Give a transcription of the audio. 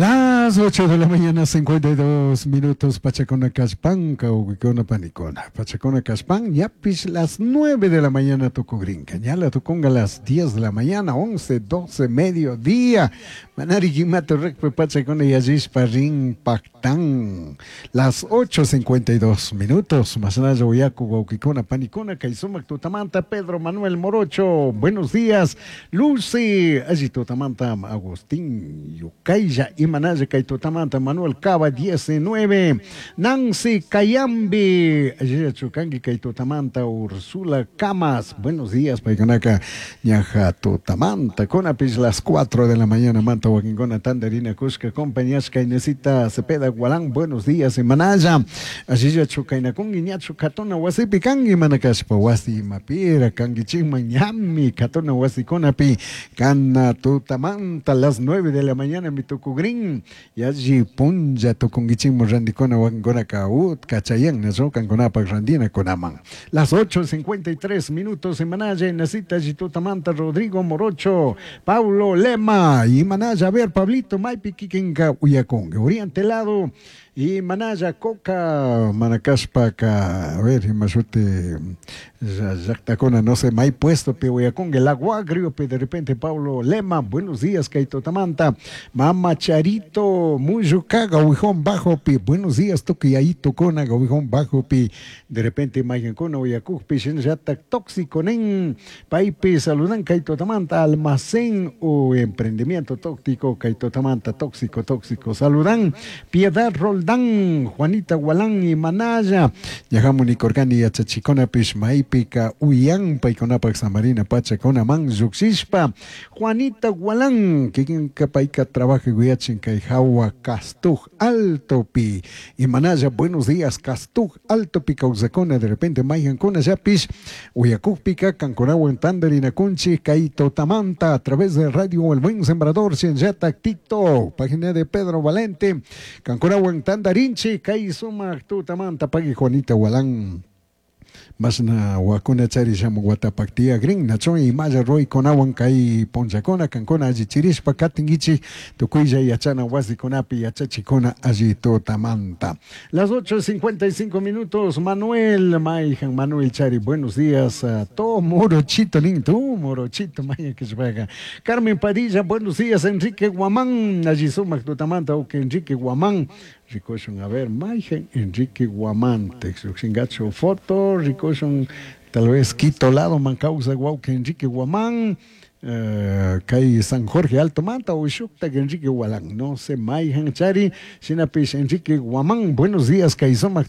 Las 8 de la mañana, 52 minutos, Pachacona Cashpan, Cauquicona Panicona. Pachacona Cashpan, ñapish las 9 de la mañana tucugrinca. Ñala tucunga las 10 de la mañana, 11, 12, mediodía. Manari Guimato Recpe Pachacona Yallishpa Rin Pactán. Las 8.52 minutos. Masanaya Uyaku, Guauquicona, Panicona, Kaisumac Tutamanta, Pedro Manuel Morocho. Buenos días, Lucy. Allí Tutamanta, Agustín Yucaya, Imanaya, Kaitutamanta, Manuel Cava, 19. Nancy Cayambi, allí Chucanqui, Kaitutamanta, Ursula Camas. Buenos días, Paiconaka, Ñaja Tutamanta, Conapis, las 4 de la mañana, Manta, Huaquincona, Tandarina, Cusca, compañías, Inesita, Cepeda, Gualán, buenos días, Imanaya. Allí Chucainacungi, Ñachu, Catona, Wasipi, Kangi, Manacaspa, Wasi, Mapira, Kangi, Chima, Ñami, Catona, Wasi, Conapi, Cana, Tutamanta, las 9 de la mañana, mi tucugrín, y allí punja tucunguichimo, randicona, huancona, caut, cachayan, nazocan, conapa, randina, conaman. Las 8.53 minutos, Imanaya, Inacita, Tutamanta, Rodrigo Morocho, Pablo Lema, y Manaya, a ver, Pablito, Maipi, Kikinka, Uyacongue, Oriente Lado, y Manaya, Coca, Manacaspaca, a ver, Imazute, Llactacona, no sé, may puesto, pe Uyacongue, La Guagrio, pe de repente Pablo Lema, buenos días, Kaito Tamanta, Mama Charito, Muyucaga, Uijón Bajo, pi, buenos días, Toki, ahí Tocona, Uijón Bajo, pi, de repente Mayancona, Uyacuj, pi, Shinyatak, Tóxico, Nen, Paipi, saludan, Kaito Tamanta, Almacén o Emprendimiento Tóxico, Kaito Tamanta, Tóxico, Tóxico, saludan, Piedad Roldán, Juanita Gualán y Manaya, Yahamuni Corgani, Yachachicona, Pishmaipika, Uyan, Paiconapac, Samarina, Pachacona, Man, Yuxishpa, Juanita Gualán, Kikinka Paika trabaja Guayachin, Kaijawa, Castuj, Alto Pi, y Manaya, buenos días, Castuj, Alto Pi, Cauzacona, de repente Mayancona, Yapish, Uyacujpica, Canconagua, Tandarina, Cunchi, Kaito Tamanta, a través de Radio El Buen Sembrador, Cienciata, TikTok, página de Pedro Valente, Canconagua, Tandarinchi, Kaizuma, Tutamanta, Pagui Juanita Gualán. Masna wakuna chari shamu watapaktia green nachon y maya roy konawan kay ponchakona kankona alli chirishpa katingichi tukuylla yachana wasikunapi yachachikuna alli tutamanta. Las 8.55 minutos, Manuel Maijan, Manuel Chari, buenos días a todo morochito, nin tú morochito, maya que se vaga. Carmen Padilla, buenos días, Enrique Guamán, allí sumac tutamanta, o que Enrique Guamán, Ricoshon, a ver, Maijan, Enrique Guamán, texuxingacho foto, Ricoshon, tal vez Quito lado, Mancausa, Guauque, Enrique Guamán, Kay San Jorge Alto Manta o Shukta Enrique Gualán, no sé, Maijan Chari, Sinapish Enrique Guamán, buenos días, Kay Sumac.